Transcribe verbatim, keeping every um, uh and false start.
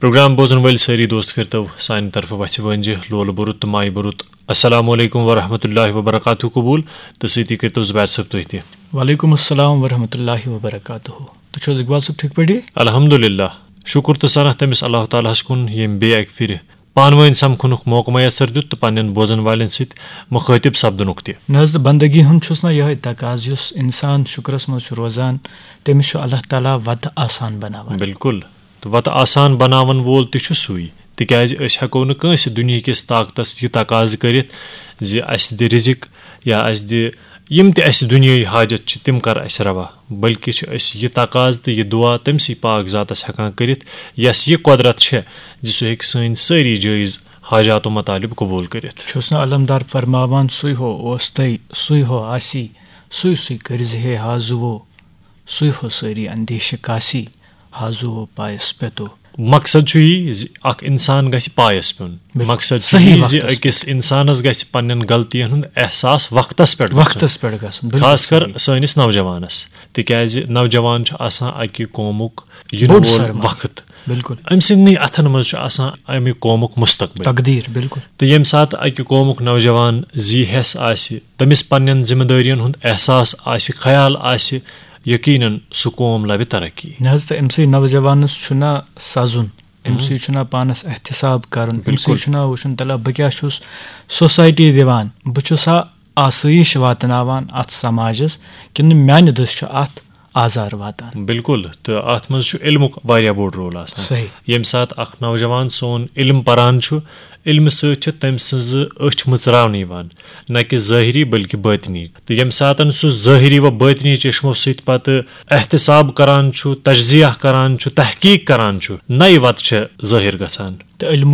Programme بوزن وٲلۍ سٲری دوست کٔرتو سانہِ طرفہٕ وژھِ وٲنجہِ لولہٕ بوٚرُت تہٕ مایہِ بوٚرُت السلام علیکم ورحمۃ اللہ وبرکاتہ قبول، تہٕ سۭتی کٔرتو زبیر صٲب تُہۍ تہِ۔ وعلیکم السلام ورحمۃ اللہ وبرکاتہ۔ تُہۍ چھِو حظ اقبال صٲب ٹھیٖک پٲٹھی؟ الحمدللہ، شُکُر تہٕ ثنا تٔمِس اللہ تعالیٰ ہَس کُن، ییٚمۍ بیٚیہِ اَکہِ پھِرِ پانہٕ وٲنۍ سَمکھُنُک موقعہٕ میسر دیُت تہٕ پننٮ۪ن بوزن والٮ۪ن سۭتۍ مُخٲطب سپدنُک تہِ۔ نہ حظ، تہٕ بندگی ہُنٛد چھُس نہ یِہوٚے تقاضہٕ، یُس انسان شُکرس منٛز چھُ روزان، تٔمِس چھُ اللہ تعالیٰ وتہٕ آسان بناوان۔ بالکل، تہٕ وتہٕ آسان بناون وول تہِ چھُ سُے، تِکیازِ أسۍ ہٮ۪کو نہٕ کٲنٛسہِ دُنیہکِس طاقتس یہِ تقاضہٕ کٔرِتھ زِ اسہِ دِ رزق یا اسہِ دِ یِم تہِ اسہِ دُنیٲیی حاجت چھِ، تِم کر اسہِ روا، بلکہِ چھِ أسۍ یہِ تقاضہٕ تہٕ یہِ دعا تٔمسٕے پاک ذاتس ہٮ۪کان کٔرِتھ، یس یہِ قۄدرت چھےٚ زِ سُہ ہیٚکہِ سٲنۍ سٲری جٲیز حاجات و مطالب قبول کٔرِتھ۔ چھُس نہٕ علمدار فرماوان، سُے ہو اوس تَے، سُے ہو آسی، سُے سُے کٔرزِ ہے حاضو، سُے ہو سٲری اندیشہِ کاسی، حاضو پایس پٮ۪تو۔ مقصد چھُ یی زِ اکھ انسان گژھِ پایس پیوٚن۔ بالکل۔ مقصد چھُ صحیح یی زِ وقتس أکِس انسانس گژھِ پننٮ۪ن غلطین ہُنٛد احساس وقتس پٮ۪ٹھ گژھُن۔ وقتس پٮ۪ٹھ گژھُن، بالکل خاص کر صحیح۔ سٲنِس نوجوانس، تِکیازِ نوجوان چھُ آسان اکہِ قومُک یِنہٕ بوٚڑ وول سرمایہ۔ وقت۔ بالکل۔ أمۍ سٕنٛدنٕے اتھن منٛز چھُ آسان امہِ قومُک مستقبل۔ تقدیر، بالکل۔ تہٕ ییٚمہِ ساتہٕ اکہِ قومُک نوجوان زی حیس آسہِ، تٔمِس پننٮ۪ن ذمہٕ دٲرین ہُنٛد احساس آسہِ، خیال آسہِ، یقیناً سُہ قوم لبہِ ترقی۔ نہ حظ، تہٕ أمۍ سٕے نوجوانس چھُنہ سزُن، أمۍ سٕے چھُنہ پانس احتساب کرُن، أمۍ سٕے بالکل۔ چھُنہ وٕچھُن، تلہ بہٕ کیٛاہ چھُس سوسایٹی دِوان، بہٕ چھُسا آسٲیِش واتناوان اتھ سماجس، کِنہٕ میانہِ دٔسۍ چھُ اتھ آزار واتان؟ بالکل، تہٕ اتھ منٛز چھُ علمُک واریاہ بوٚڑ رول آسان۔ صحیح۔ ییٚمہِ ساتہٕ اکھ نوجوان سون علم پران چھُ، علمہٕ سۭتۍ چھِ تٔمۍ سٕنٛزٕ أچھ مٕژراونہٕ یِوان، نہ کہِ ظٲہری بلکہِ باطنی۔ تہٕ ییٚمہِ ساتہٕ سُہ ظٲہری و باطنی چشمو سۭتۍ پتہٕ احتساب کران چھُ، تجزیہ کران چھُ، تحقیق کران چھُ، نَیہِ وتہٕ چھےٚ ظٲہر گژھان۔ تہٕ علمُک